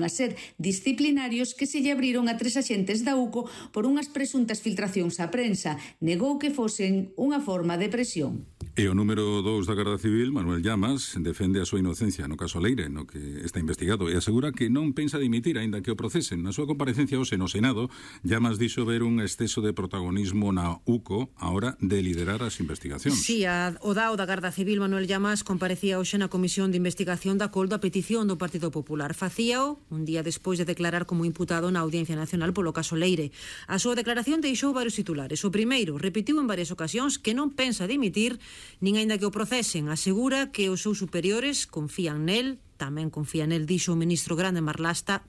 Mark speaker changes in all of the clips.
Speaker 1: a ser disciplinarios que se lle abriron a 3 axentes da UCO por unhas presuntas filtracións á prensa. Negou que fosen unha forma de presión.
Speaker 2: E o número 2 da Garda Civil, Manuel Llamas, defende a súa inocencia no caso Leire, no que está investigado, e asegura que non pensa dimitir, aínda que o procesen. Na súa comparecencia hoxe no Senado, Llamas dixo ver un exceso de protagonismo na UCO a hora de liderar as investigacións.
Speaker 3: Si, o DAO da Garda Civil, Manuel Llamas, comparecía hoxe na Comisión de Investigación da Coldo a petición do Partido Popular. Facíao un día despois de declarar como imputado na Audiencia Nacional polo caso Leire. A súa declaración deixou varios titulares. O primeiro, repetiu en varias ocasións que non pensa dimitir nin aínda que o procesen. Asegura que os seus superiores confían nel, tamén confía nel, dixo o ministro Grande Marlasca,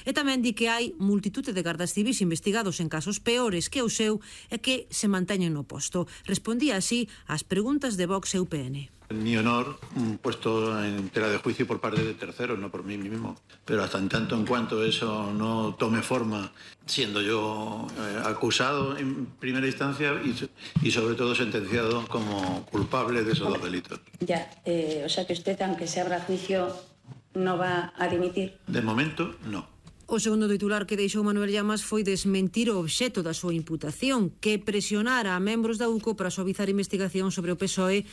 Speaker 3: e tamén di que hai multitude de gardas civis investigados en casos peores que o seu e que se manteñen no posto. Respondía así ás preguntas de Vox e UPN.
Speaker 4: Mi honor puesto en tela de juicio por parte de terceros, no por mí mismo. Pero hasta en tanto en cuanto eso no tome forma, siendo yo acusado en primera instancia y sobre todo sentenciado como culpable de esos dos delitos.
Speaker 5: Ya, o sea que usted, aunque se abra juicio, no va a dimitir.
Speaker 4: De momento, no.
Speaker 3: O segundo titular que deixou Manuel Llamas foi desmentir o obxecto da súa imputación, que presionara a membros da UCO para suavizar investigación sobre o PSOE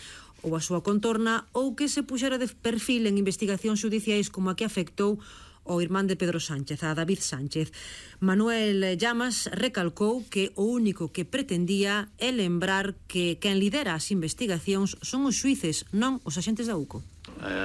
Speaker 3: ou a súa contorna, ou que se puxera de perfil en investigacións judiciais como a que afectou o irmán de Pedro Sánchez, a David Sánchez. Manuel Llamas recalcou que o único que pretendía é lembrar que quen lidera as investigacións son os xuíces, non os axentes da UCO.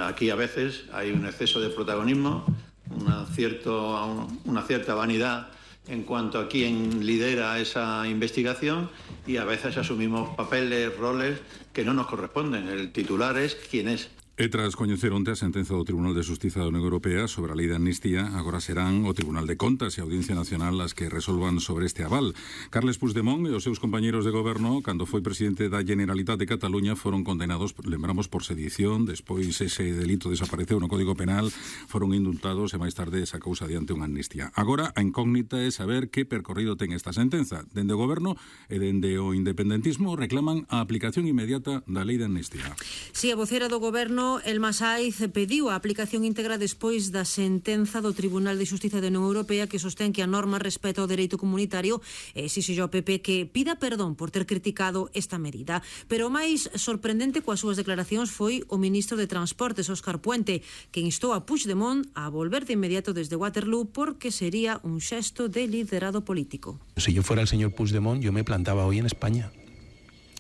Speaker 4: Aquí a veces hai un exceso de protagonismo, una cierta vanidad en cuanto a quién lidera esa investigación y a veces asumimos papeles, roles que no nos corresponden. El titular es quién es.
Speaker 2: E tras coñecer onte a sentenza do Tribunal de Xustiza da Unión Europea sobre a lei de amnistía, agora serán o Tribunal de Contas e a Audiencia Nacional as que resolvan sobre este aval. Carles Puigdemont e os seus compañeros de goberno, cando foi presidente da Generalitat de Cataluña, foron condenados, lembramos, por sedición. Despois ese delito desapareceu no Código Penal, foron indultados e máis tarde esa causa adiante unha amnistía. Agora a incógnita é saber que percorrido ten esta sentenza. Dende o goberno e dende o independentismo reclaman a aplicación inmediata da lei de amnistía.
Speaker 3: Si, a vocera do goberno, Elma Saiz, pediu a aplicación íntegra despois da sentenza do Tribunal de Xustiza da Unión Europea que sostén que a norma respeta o dereito comunitario e exixe ao PP que pida perdón por ter criticado esta medida. Pero o máis sorprendente coas súas declaracións foi o ministro de Transportes, Óscar Puente, que instou a Puigdemont a volver de inmediato desde Waterloo porque sería un xesto de liderado político.
Speaker 6: Si yo fuera el señor Puigdemont, yo me plantaba hoy en España,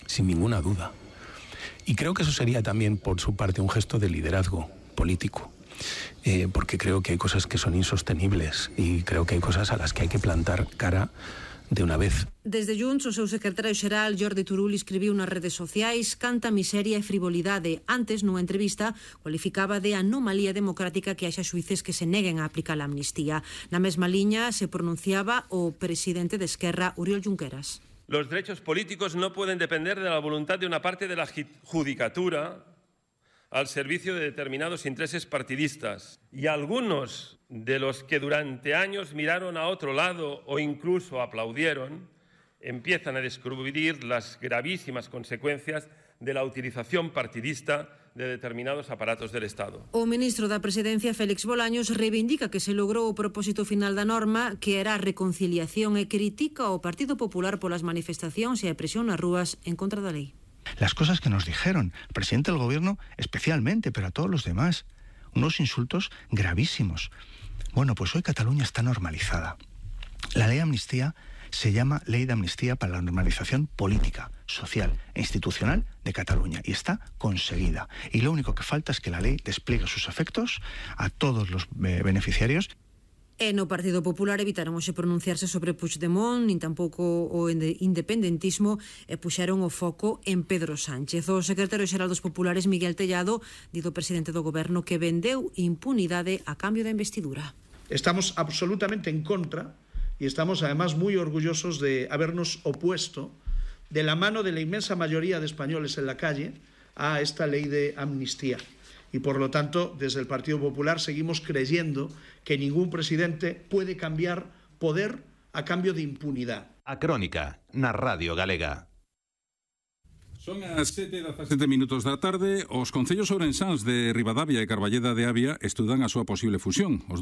Speaker 6: sin ninguna duda. Y creo que eso sería también por su parte un gesto de liderazgo político, porque creo que hay cosas que son insostenibles y creo que hay cosas a las que hay que plantar cara de unha vez.
Speaker 3: Desde Junts, o seu secretario xeral, Jordi Turull, escribiu nas redes sociais canta miseria e frivolidade. Antes, nunha entrevista, cualificaba de anomalía democrática que haxa xuíces que se neguen a aplicar a amnistía. Na mesma liña se pronunciaba o presidente de Esquerra, Oriol Junqueras.
Speaker 7: Los derechos políticos no pueden depender de la voluntad de una parte de la judicatura al servicio de determinados intereses partidistas. Y algunos de los que durante años miraron a otro lado o incluso aplaudieron, empiezan a descubrir las gravísimas consecuencias de la utilización partidista de determinados aparatos del Estado.
Speaker 3: O ministro da Presidencia, Félix Bolaños, reivindica que se logrou o propósito final da norma, que era a reconciliación, e critica ao Partido Popular polas manifestacións e a presión nas rúas en contra da lei.
Speaker 8: Las cosas que nos dijeron, el presidente del gobierno especialmente, pero a todos los demás, unos insultos gravísimos. Bueno, pues hoy Cataluña está normalizada. La ley de amnistía se llama Ley de Amnistía para la Normalización Política, Social e Institucional de Cataluña y está conseguida. Y lo único que falta es que la ley despliegue sus efectos a todos los beneficiarios.
Speaker 3: E no Partido Popular evitaron hoxe pronunciarse sobre Puigdemont, nin tampouco o independentismo, e puxeron o foco en Pedro Sánchez. O secretario xeral dos Populares, Miguel Tellado, di do presidente do goberno que vendeu impunidade a cambio da investidura.
Speaker 9: Estamos absolutamente en contra y estamos además muy orgullosos de habernos opuesto de la mano de la inmensa mayoría de españoles en la calle a esta ley de amnistía. Y por lo tanto, desde el Partido Popular seguimos creyendo que ningún presidente puede cambiar poder a cambio de impunidad.
Speaker 10: A Crónica, na Radio Galega.
Speaker 2: Son as 7:17 da tarde. Os concellos ourensáns de Ribadavia e Carballeda de Avia estudan a súa posible fusión. Os